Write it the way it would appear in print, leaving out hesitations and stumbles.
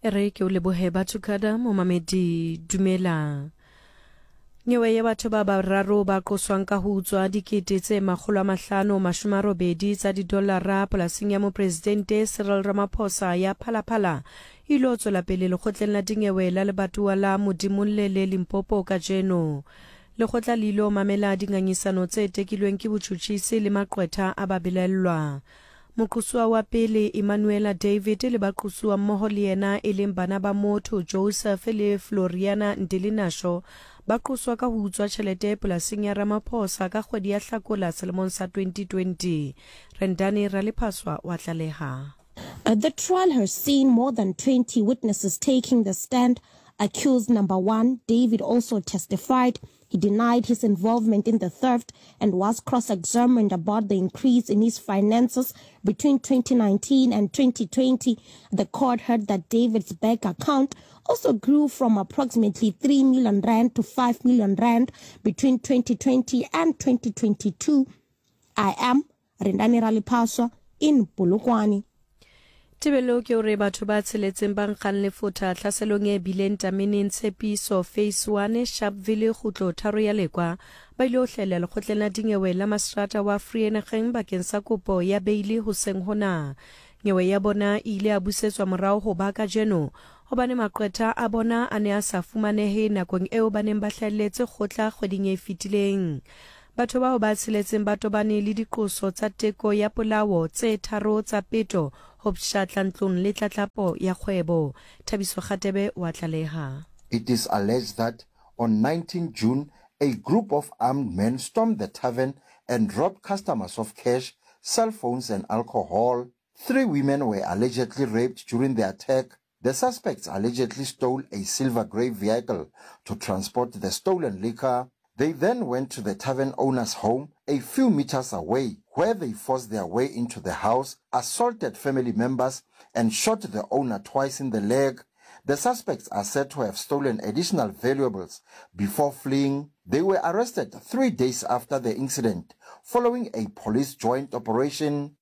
E re ke o lebohe Bathukada momamedi dumela. Nyewe ya batho ba bararo ba qoswang ka ho utswa dikete tse 580 tsa didolara polasing ya Mopresidente Cyril Ramaphosa ya Phalaphala e ilo tswela pele lekgotleng la dinyewe la lebatowa la Modimollele Limpopo kajeno. Lekgotla le ilo mamela dingangisano tse tekilweng ke botšhotšhisi le maqwetha a babelaellwa. Moqosuwa wa pele, Emanuela David, le baqosuwa mmoho le yena e leng bana ba motho Joseph le Floriana Ndilinasho, ba qoswa ka ho utswa tjhelete polasing ya Ramaphosa ka kgwedi ya Hlakola selemong sa 2020. Rendani Ralephaswa wa tlaleha. The trial has seen more than 20 witnesses taking the stand. Accused number one, David, also testified. He denied his involvement in the theft and was cross-examined about the increase in his finances between 2019 and 2020. The court heard that David's bank account also grew from approximately 3 million rand to 5 million rand between 2020 and 2022. I am Rendani Ralipaswa in Polokwane. Tebello ke hore batho ba tsheletseng ba nkgang lefotha tlhaselong e bileng tameneng Tshepiso Phase One, Sharpeville, kgutlo tharo ya Lekwa, ba ile ho hlahella lekgotleng la dinyewe la maseterata wa Vereeniging bakeng sa kopo ya beili hoseng hona. Nyewe ya bona e ile ya busetswa morao ho ba kajeno hobane maqwetha a bona a ne a sa fumanehe nakong eo ba neng ba hlahelletse kgotla kgweding e fetileng. Batho bao ba tsheletseng ba tobane le diqoso tsa teko ya polao tse tharo tsa peto, ho pshatla ntlong le tlatlapo ya kgwebo. Thabiso Kgatebe o a tlaleha. It is alleged that on 19 June, a group of armed men stormed the tavern and robbed customers of cash, cell phones and alcohol. Three women were allegedly raped during the attack. The suspects allegedly stole a silver grey vehicle to transport the stolen liquor. They then went to the tavern owner's home a few meters away, where they forced their way into the house, assaulted family members, and shot the owner twice in the leg. The suspects are said to have stolen additional valuables before fleeing. They were arrested three days after the incident, following a police joint operation.